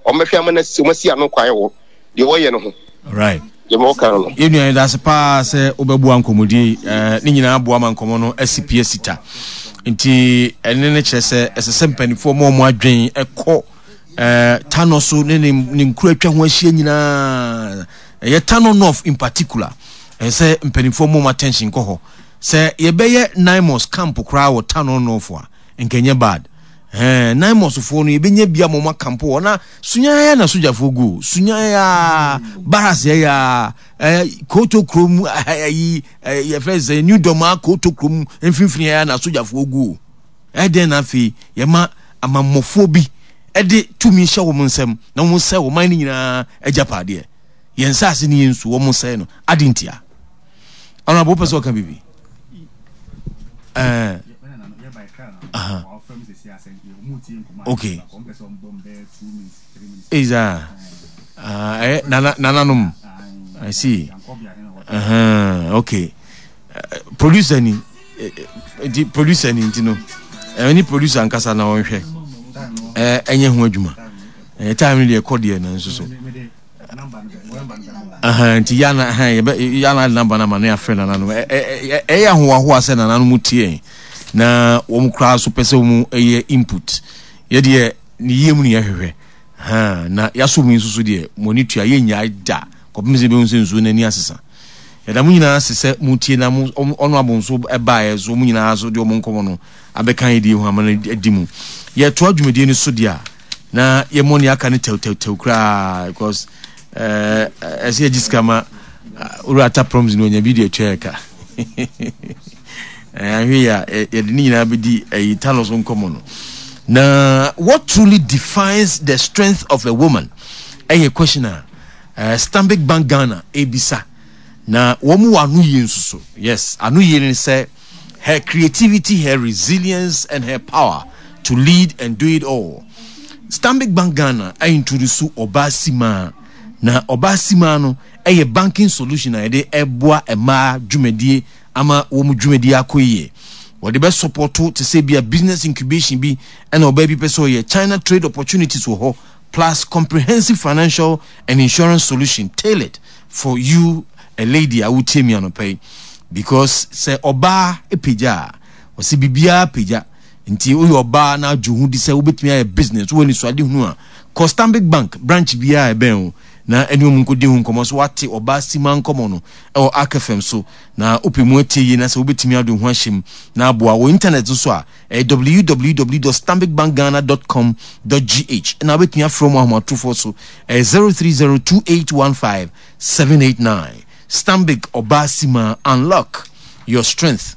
Wɔbɛhwɛ ama no asi, wɔasi ano kwan wɔ deɛ wɔyɛ no ho. Right. Deɛ wɔka no no. Yɛn nua yɛda ase paa sɛ wobɛboa nkɔmmɔdie yi. Eh, ne nyinaa boa ma nkɔmmɔ no asi pi asi ta. Nti ɛne no kyerɛ sɛ ɛsɛ sɛ mpanimfoɔ ma wɔn adwen ɛkɔ eh, Tano so ne ne, ne nkuro atwa ho ahyia nyinaa. Ɛyɛ Tano North in particular. Ɛsɛ sɛ mpanimfoɔ ma wɔn attention kɔ hɔ. Sɛ yɛbɛyɛ Naimos camp koraa wɔ Tano North a, nka ɛnyɛ bad. Ɛɛ Naimos foɔ no yɛbɛnya bi ama wɔn akampo hɔ na sunyaa na sogyafoɔ gu o sunyaa baras yɛ ya ɛɛ koto kurom ɛyi ɛɛ yɛfrɛ sɛ New Dɔmaa koto kurom mfimfini yɛ na sogyafoɔ gu o ɛdɛn na afei yɛma amammɔfoɔ bi ɛde tumi hyɛ wɔn nsam na wɔn sɛ wɔn man no nyinaa agyapadeɛ yɛn nsaase ne yɛn nsu wɔn sɛ no adi ntia ɔnabɔ wopɛ sɛ ɔka biribi. Ɛɛ. Aha. Okay. Eza. Ah, eh, nana nananom. I see. Uh-huh. Okay. Uh, producer ni. Nti producer ni nti no. Eh, ni producer ankasa na ɔnhwɛ. Eh, enye ho adwuma. Eh, time ni de kɔ deɛ na nso so. Nti yana yɛbɛ yana namba na ma ne afrɛ nananom. Ɛyɛ ahohoahoa sɛ nananom tie na wɔn koraa so pɛ sɛ wɔn yɛ input. Yɛ deɛ ne yie mu ne yɛhwehwɛ. Na yɛasɔ mu nso so deɛ mo ani tua yɛnnyae da kɔpem sɛ yɛbɛhu sɛ nsuo no ani asesa. Yɛda mo nyinaa ase sɛ motie na mo ɔno abo nso baeɛ so wɔn nyinaa so de wɔn nkɔmmɔ no abɛka yɛ die ho ama no adi mu. Yɛtoa dwumadie no so deɛ a na yɛmmɔ nea aka no tɛwtɛwtɛw koraa because ɛsɛ eh, yɛgye sika ma owura ata proms no ɔnya bi de atua yɛ ka ahwɛ yi a yɛde ne nyinaa bɛdi ɛyi tano so nkɔmmɔ no na what truly defines the strength of a woman ɛyɛ question a uh, Stanbic Bank Ghana ebisa na wɔn wɔ ano yie nso so yes ano yie ne sɛ her creativity, her resilience, and her power to lead and do it all. Stanbic Bank Ghana introduce Ɔbaa Simaa. Na Ɔbaa Simaa no ɛyɛ banking solution a yɛde ɛboa mmaa dwumadie ama wɔn dwumadie akɔ yie. Wɔde bɛ sɔpɔto te sɛ bi a business incubation bi ɛna ɔbaa bi pɛ sɛ ɔyɛ China trade opportunities wɔ hɔ plus comprehensive financial and insurance solution tailored for you a lady a wotie mi anɔpa yi because sɛ ɔbaa pagya a ɔsɛ biribiara pagya nti woyɛ ɔbaa na adwo ho di sɛ wobɛtumi ayɛ business wowɔ anisoade hunu a kɔ Stanbic Bank branch biara a ɛbɛn wo na ɛne ɔmu nkɔdi ho nkɔmmɔ so wate ɔbaa sima nkɔmmɔ no ɛwɔ Ark FM so na wopɛ mu atie yie na sɛ wobɛtumi ade ho ahyɛ mu na aboa wɔ internet nso a ɛyɛ www dot stanbicbankghana dot com dot gh ɛna wobɛtumi afrɛ mu ahomatorofoɔ so ɛyɛ 0302815789 Stanbic ɔbaa simaa unlock your strength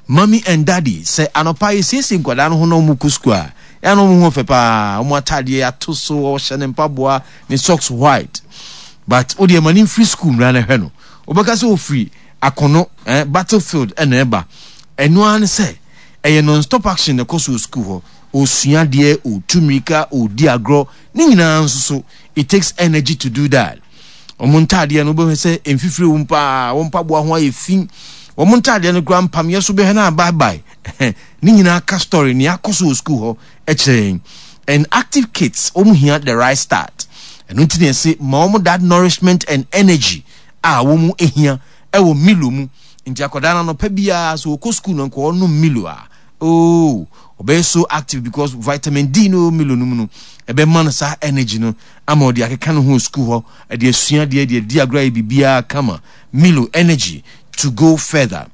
Mommy and daddy sɛ anɔpa yɛsiesie nkwadaa no ho na wɔn kɔ sukuu a ɛna na wɔn ho fɛ paa wɔn ataadeɛ ato so ɔhyɛ ne mpaboa ne socks white but wo deɛ ma ne mfiri sukuu mmra na hwɛ no wobɛka sɛ ofiri akono eh, battlefield ɛna ɛba ɛno ara ne sɛ Ɛyɛ non stop action na ɛkɔ so wɔ sukuu hɔ. Ɔresua adeɛ, ɔretu mmirika, ɔredi agorɔ. Ne nyinaa nso so, it takes energy to do that. Wɔn ntaadeɛ no, wobɛhwɛ sɛ mfifire wom paa, wɔn mpaboa ho ayɛ fi. Wɔn ntaadeɛ no koraa mpameɛ so bɛhwɛ no abaabae. Ne nyinaa ka story, nea akɔ so wɔ sukuu hɔ kyerɛ yɛn. And active kids, wɔn hia the right start. Ɛno nti na yɛse ma wɔn that nourishment and energy a wɔn hia wɔ Milo mu. Nti akwadaa no anɔpa biara sɛ ɔkɔ school no nka ɔnom Milo a, oh, ɔbɛyɛ so active because vitamin D no wɔ Milo no mu no, ɛbɛma no saa energy no ama ɔde akeka ne ho wɔ school hɔ, ɛde asua adeɛ, ɛde adi agorɔ ayɛ biribiara kama. Milo energy to go further.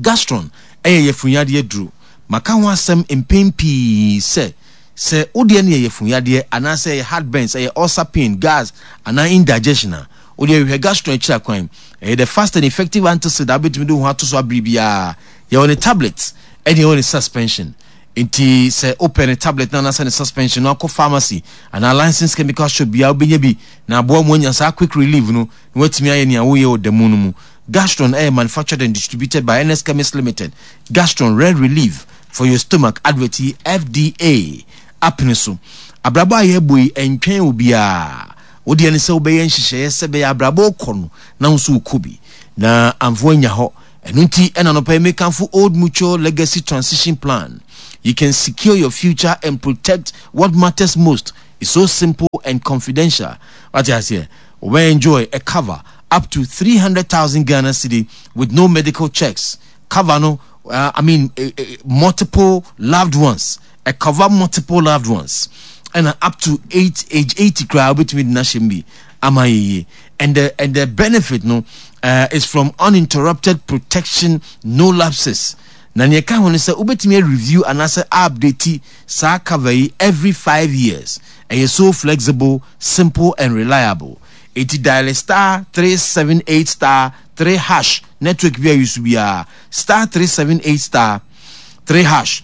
Gastron ɛyɛ yafunyadeɛ duro. Maka ho asɛm mpɛn pii sɛ, sɛ wo deɛ no yɛ yafunyadeɛ anaasɛ ɛyɛ heartburns, ɛyɛ ulcer pain, gas anaa indigestion a, Wo deɛ hwehwɛ Gastron akyiri akwan. Ɛyɛ the fast and effective antacid a wobɛtumi de wo ho ato so abere biara. Yɛwɔ ne tablet ɛne yɛwɔ ne suspension. Nti sɛ wopɛ ne tablet no anaasɛ ne suspension no akɔ pharmacy anaa licensed chemical shop biara wobɛnya bi na aboa mu anya saa quick relief no na woatumi ayɛ nea woyɛ wɔ da mu no mu. Gastron ɛyɛ manufactured and distributed by NS Chemist Limited. Gastron rare relief for your stomach advert yi FDA apene so. Abrabɔ a yɛrebɔ yi ɛntwɛn obiara. Wo deɛ ne sɛ wobɛyɛ nhyehyɛeɛ sɛ ɛbɛyɛ abrabɔ rekɔ no na wo nso wokɔ bi na amfa woanya hɔ. Ɛno nti ɛna anɔpa yi mekamfo Old Mutual Legacy Transition Plan. You can secure your future and protect what matters most. It's so simple. and confidential. Wate aseɛ? Wobɛ enjoy a cover up to 300,000 Ghana cedi with no medical checks. Cover no, uh, I mean, uh, uh, multiple loved ones. A cover multiple loved ones. And up to eight, age 80 koraa wobɛtumi de no ahyɛ mu bi ama yɛyie. And the, and the benefit no uh, is from uninterrupted protection, no lapses. Na nea ɛka ho ne sɛ wobɛtumi review anaasɛ update saa cover yi every 5 years. Ɛyɛ so flexible, simple and reliable. Eti dial *378*3#, network bi a use biara, *378*3#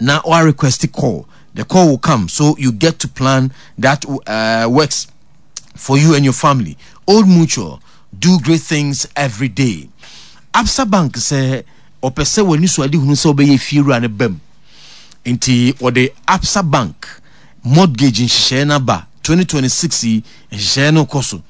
na wa request call. The call will come so you get to plan that works for you and your family. Old Mutual, do great things every day. Absa Bank sɛ ɔpɛ sɛ w'ani so ade hunu sɛ wobɛyɛ fiewura no bam, nti wɔde Absa Bank mortgage nhyehyɛeɛ no aba. 2026 yi nhyehyɛeɛ no kɔ so,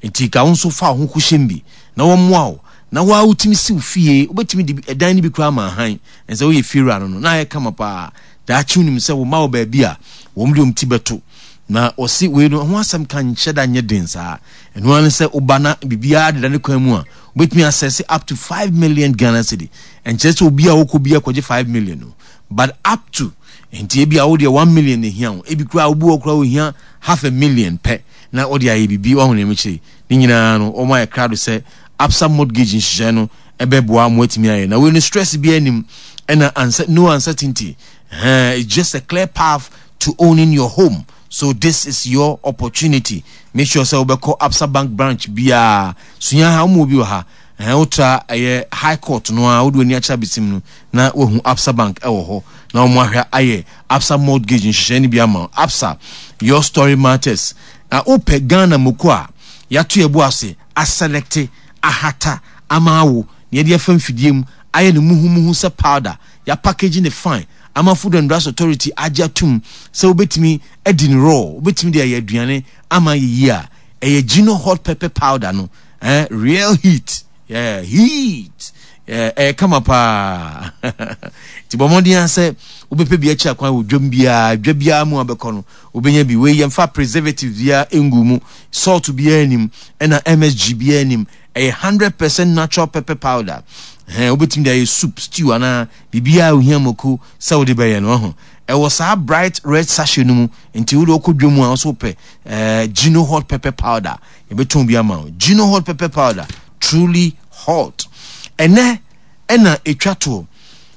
nti ka wo nso fa wo ho kɔhyɛm bi na wɔmmoa wo na woa wotumi si wo fie. Wobɛtumi de ɛdan no bi koraa ma ahan ɛsɛ woyɛ fiewura no na ayɛ kama paa. Daakye wonim sɛ wo ma wɔ baabi a wɔn de wɔn ti bɛto. Na wɔsi wei no ho asɛm ka nhyɛ da nyɛ den saa. Ɛno ara ne sɛ woba na biribiara deda ne kwan mu a, wobɛtumi asɛse up to 5 million Ghana cedi. Ɛnkyerɛ sɛ obi a wokɔ bi akɔgye 5 million no, but up to. Nti ebi a wodeɛ 1 million na ehia wo, ebi koraa obi wɔ koraa ohia half a million pɛ na wɔde ayɛ biribi. Wɔn nneɛma kyerɛ ne nyinaa no, wɔn ayɛ krado sɛ Absa mortgage nhyehyɛ no ɛbɛboa mo atumi ayɛ. Na wei no, stress bi anim ɛna ansa no uncertainty. It's just a clear path to owning your home, so this is your opportunity. Make sure sɛ wobɛkɔ Absa Bank branch biara sua ha. Wɔn bi wɔ ha ɛhɛn, wotra ɛyɛ High Court no a, wode w'ani akyerɛ abesim no na wahu Absa Bank ɛwɔ hɔ na wɔn ahwɛ ayɛ Absa mortgage nhyehyɛ no bi ama wo. Absa, your story matters. Na wopɛ Ghana moko a yɛato yɛbo ase aselect ahata ama awo na yɛde afa mfidie mu ayɛ no muhumuhu sɛ powder, yɛapackage ne fine ama Food and Drugs Authority agye atum sɛ wobɛtumi adi no raw, wobɛtumi de ayɛ aduane ama yɛyie a, ɛyɛ Gino hot pepper powder no. Real heat, yeah, heat, yeah, ɛyɛ kama paa. Nti bɔ mmɔden a sɛ wobɛpɛ bi akyi akwan wɔ dwam biara, dwa biara mu a bɛkɔ no, wobɛnya bi. Wei yɛmfa preservative biara ngu mu, salt biara nim, ɛna MSG biara nim. Ɛyɛ 100% natural pepper powder. Ɛhɛn, wobɛtumi de ayɛ soup, stew anaa biribiara a ohia mako sɛ wode bɛyɛ no. Ɔho ɛwɔ saa bright red sachet no mu, nti wode wokɔ dwa mu a, wɔso wopɛ Gino hot pepper powder, yɛbɛtɔn bi ama wo. Gino hot pepper powder, truly hot. Ɛnɛ ɛna etwa toɔ.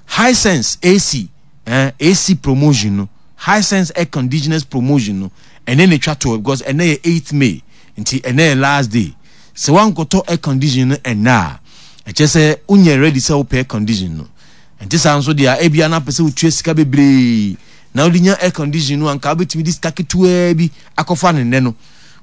Hisense AC, AC promotion no, Hisense air conditioners promotion no, ɛnɛ na etwa toɔ because ɛnɛ yɛ 8th May, nti ɛnɛ yɛ last day. Sɛ wankɔtɔ air condition no ɛnɛ a, ɛkyɛ sɛ wonyɛ ready sɛ wopɛ air condition no. Nti saa nso deɛ, ebia na apɛ sɛ wotua sika bebree na wode nya air condition no, anka wobɛtumi de sika ketewaa bi akɔfa ne nnɛ no.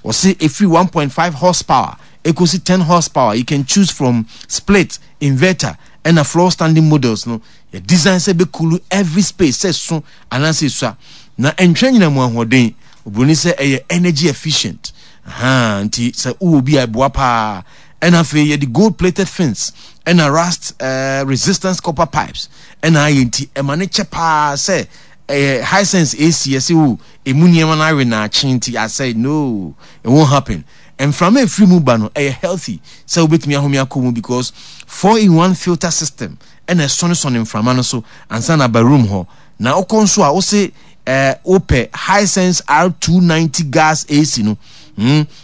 Wɔse ɛfiri 1.5 horsepower ɛkɔsi 10 horsepower, you can choose from split, inverter ɛna floor standing models no. Yɛ design sɛ bɛcool every space, sɛ so anaasɛ esua, na ɛntwɛn nyina mu ahoɔden. Oburoni sɛ ɛyɛ energy efficient. Aha, nti sɛ wowɔ bi a, ɛboa paa. Ɛna afei yɛde gold plated fins ɛna rust resistance copper pipes ɛna ayɛ, nti ɛma ne kyɛ paa. Sɛ ɛyɛ Hisense AC, yɛsɛ o emu nneɛma no awe naakye nti asɛ no, it won't happen. Mframa efiri mu ba no ɛyɛ healthy sɛ wobɛtumi ahome akɔ mu because 4 in 1 filter system ɛna ɛsɔnesɔne mframa no so ansa na aba room hɔ. Na wokɔ nso a, wose wopɛ Hisense R290 gas AC no,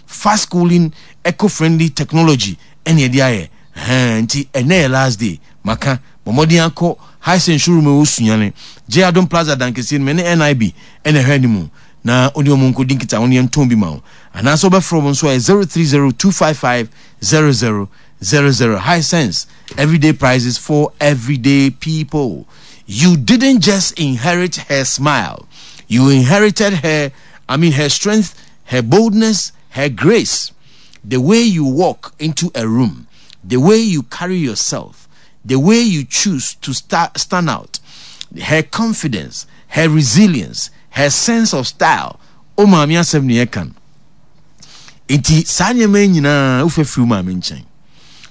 fast cooling, eco-friendly technology ɛne ɛde ayɛ. Ɛhɛn, nti ɛnɛ yɛ last day. Maka bɔ mmɔden akɔ Hisense showroom ɛwɔ Sunyani, J Adom Plaza dankeseɛ no mu, ɛne NIB ɛna ɛhwɛ anim, na wone ɔmo nkɔdi nkita wo ne yɛntɔn bi ma wo, anaasɛ wobɛfrɛ ɔmo nso a, ɛyɛ 030 255 0000. Hisense, everyday prices for everyday people. You didn't just inherit her smile, you inherited her, I mean, her strength, her boldness, her grace. The way you walk into a room, the way you carry yourself, the way you choose to stand out, her confidence, her resilience, her sense of style. O maame asɛm ne yɛka no. Nti saa nneɛma yi nyinaa wofa firi wo maame nkyɛn.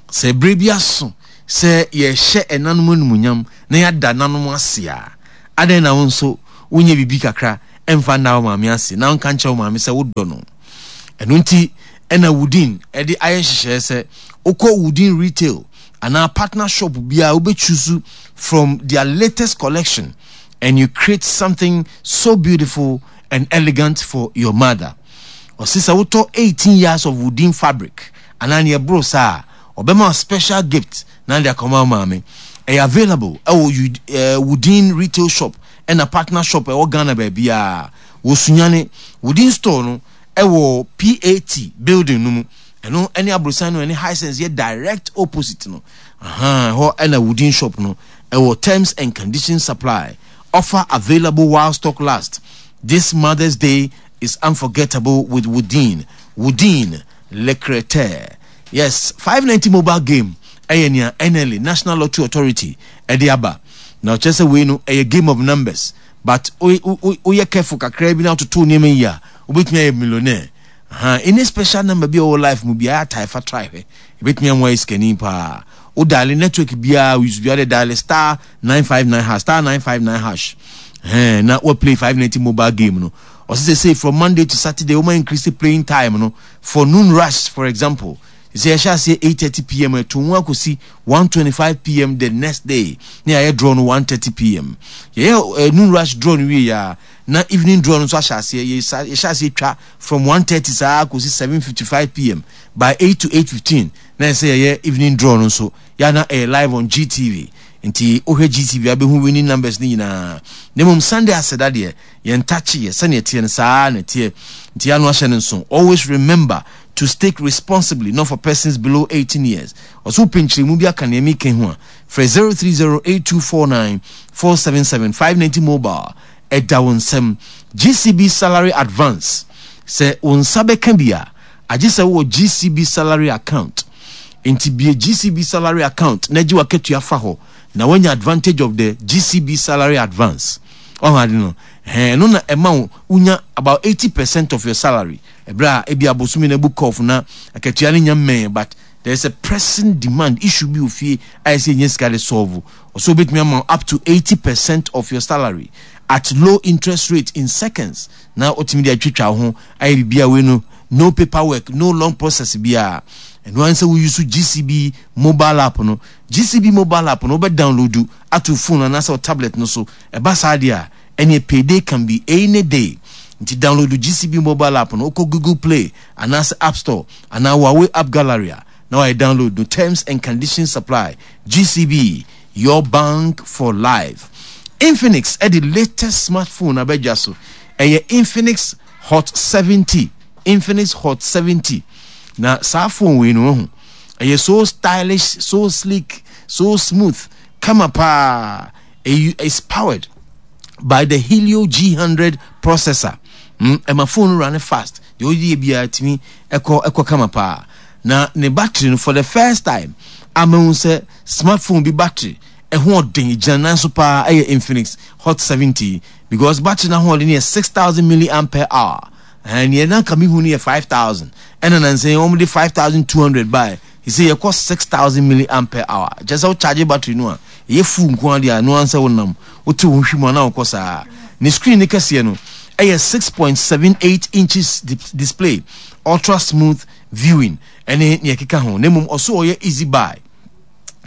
Sɛ berɛ bi aso sɛ yɛhyɛ ɛnanom animuonyam na yɛada nanom ase a, adɛn na wo nso wonyɛ biribi kakra? mfa nna wo maame ase na nka nkyerɛ wo maame sɛ wodɔ no. Ɛno nti ɛna Woodin de ayɛ nhyehyɛeɛ sɛ wokɔ Woodin Retail anaa partner shop biara wobɛchusu from their latest collection and you create something so beautiful and elegant for your mother. Ɔse sɛ wotɔ 18 yards of Woodin fabric anaa nea ɛboro saa a, ɔbɛma wo special gift na de akɔma wo maame. Ɛyɛ available ɛwɔ eh, Woodin retail shop ɛna partner shop ɛwɔ Ghana baabiara. Wɔ Sunyani, Woodin store no ɛwɔ PAT building no mu. Ɛno ɛne aborosan no ɛne Hisense yɛ direct opposite no. Ahaa, ɛhɔ ɛna Woodin shop no ɛwɔ. Terms and conditions supply. Offer available while stock lasts. This Mother's Day is unforgettable with Woodin. Woodin, Le Creteur. Yes, 590 mobile game ɛyɛ nea NLA, National Lottery Authority, ɛde aba. Na ɔkyerɛ sɛ wei no ɛyɛ game of numbers. But woyɛ careful kakraa bi na wototo nneɛma yi a, wobɛtumi ayɛ millionaire. Aha, any special number bi a ɔwɔ life mu biara tae fa try hwɛ. Ebetumi ama woayɛ sikani paa. Wo dial network biara, wo use biara de dial star 959 hash, star 959 hash. Ɛhɛn, na wa play 590 mobile game no. Ɔsɛ sɛ say from Monday to Saturday, woma increase playing time no for noon rush for example. Sɛ yɛhyɛ aseɛ 8:30 pm ɛto mu akɔsi 1:25 pm the next day na yɛayɛ draw no 1:30 pm. Yɛyɛ eh, noon rush draw no wie ya na evening draw no nso ahyɛ aseɛ. Yɛhyɛ aseɛ twa from 1:30 saa kɔsi 7:55 pm. By 8 to 8:15 na ɛsɛ yɛyɛ evening draw no nso. Yɛ na ɛyɛ live on GTV. Nti wohwɛ GTV a bɛhu winning numbers no nyinaa. Na mmom Sunday aseda deɛ yɛn takye yɛ sɛnea ɛteɛ no saa na ɛteɛ. Nti yɛ ano ahyɛ no nso. Always remember to stake responsibly, not for persons below 18 years. Ɔso wopɛ nkyerɛmu bi aka nea meka ho a, frɛ 0308249477 590 mobile ɛda wo nsam. GCB salary advance sɛ wo nsa bɛka bi a, agye sɛ wowɔ GCB salary account. Nti bue GCB salary account na gye w'akatua fa hɔ na woanya advantage of the GCB salary advance. Ɔho ade no, ɛhɛn, ɛno na ɛma wo wonya about 80% of your salary. Ɛberɛ a ebi abosome no abu kɔf na akatua no nya mmɛn but there is a pressing demand issue bi wɔ fie a ɛsɛ yɛnya sika de solve. Ɔsɛ obetumi ama wo up to 80% of your salary at low interest rate in seconds na otumi de atwitwa wo ho ayɛ biribi a wei no no paperwork, no long process biara. Ɛno ara ne sɛ wo use GCB mobile app no. GCB mobile app no wobɛ download ato phone anaasɛ wo tablet no so. Ɛba saa deɛ a, ɛneɛ payday can be any day. Nti download GCB mobile app no, wokɔ Google Play anaasɛ App Store anaa Huawei App Gallery a, na wayɛ download no. Terms and conditions apply. GCB, your bank for life. Infinix ɛde latest smartphone aba dwa so. Ɛyɛ Infinix Hot 70. Infinix Hot 70. Na saa phone wei no wahu. Ɛyɛ so stylish, so sleek, so smooth, kama paa. It's powered by the Helio G100 processor. Ɛma phone no run fast. Deɛ ɔyɛ biara tumi ɛkɔ ɛkɔ kama paa. Na ne battery no for the first time ama hu sɛ smartphone bi battery ɛho ɔden gyina nan so paa ɛyɛ Infinix Hot 70 because battery no ahoɔden yɛ 6000 milliampere hour. Ɛɛ nea na nka mehu no yɛ 5000 ɛna nansa yi wɔn de 5200 bae. Sɛ yɛkɔ 6000 milliampere hour. Kyerɛ sɛ wo charge battery no a ɛyɛ full nko ara deɛ a ɛno ara sɛ wonam wote wo ho hwi mu a na wokɔ saa. Ne screen no kɛseɛ no ɛyɛ 6.78 inches display, ultra smooth viewing ɛne nea ɛkeka ho. Na mmom ɔso ɔyɛ easy buy.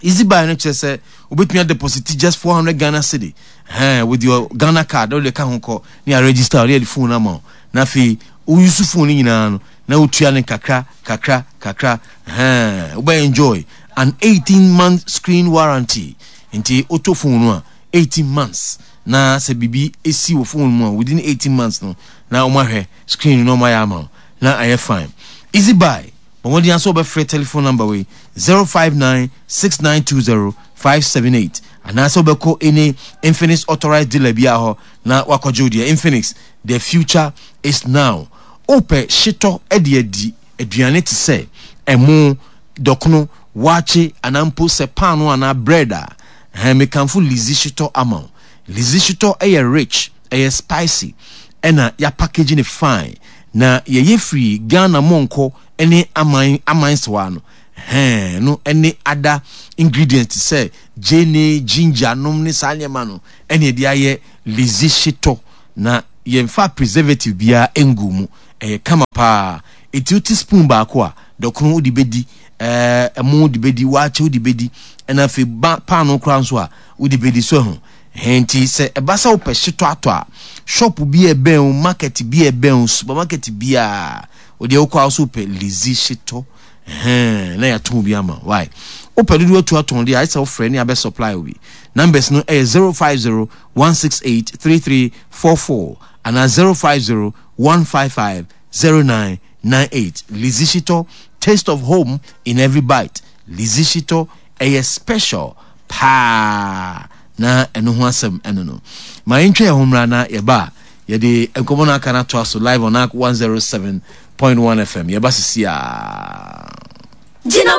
Easy buy no kyerɛ sɛ wobɛtumi adeposit just 400 Ghana cedi ɛhɛn with your Ghana card na wode ka ho kɔ ne aregister ne yɛde phone ama wo na afei wo use phone no nyinaa no na wotua no kakra kakra kakra ɛhɛn wobɛ enjoy an 18 month screen warranty nti wotɔ phone no a 18 months na sɛ biribi esi wɔ phone mu a within 18 months no na wɔn ahwɛ screen no na wɔn ayɛ ama wo na ayɛ fine. Easy buy, bɔ mmɔden ara sɛ wobɛfrɛ telephone number wei, 059 6920 578 anaasɛ wobɛkɔ any Infinix authorized dealer biara hɔ na wakɔgye wo deɛ. Infinix, the future is now. Wopɛ hyetɔ de adi aduane te sɛ ɛmo, dɔkono, waakye anaa mpo sɛ paano anaa bread a, ɛhɛn, mekamfo Lizzy hyetɔ ama wo. Lizzy hyetɔ yɛ rich, ɛyɛ spicy ɛna yɛapackage no fine. Na yɛyɛ firi Ghana mɔnkɔ ne aman aman sewa no hɛn no ne ada ingredients te sɛ gyeene, ginger nom ne saa nneɛma no ɛne yɛde ayɛ Lizzy hyetɔ na. Yɛmfa preservative biara ngu mu. Ɛyɛ kama paa. Enti wote spoon baako a, dɔkono wode bɛdi, ɛɛ ɛmo wode bɛdi, waakye wode bɛdi, ɛna afei ba paano koraa nso a wode bɛdi so ahu. Ɛhɛn nti sɛ ɛba sɛ wopɛ hyetɔ atɔ a, shop bi a ɛbɛn wo, market bi a ɛbɛn wo, supermarket biara, wodeɛ wokɔ a wo so wopɛ Lizzy hyetɔ, ɛhɛn na yɛatɔn bi ama wo. Why? Wopɛ dodoɔ atu atɔn deɛ a, ayɛ sɛ wofrɛ ne abɛ supply wo bi. Numbers no ɛyɛ 050 168 3344 anaa 050 155 0998. Lizzy Shitɔ, taste of home in every bite. Lizzy Shitɔ, ɛyɛ special paa na ɛno ho asɛm ɛno no. Ma yɛntwa yɛn ho mmra na yɛba a yɛde nkɔmmɔ no aka no atoa so live on ARK 107.1 FM. Yɛba sisi a.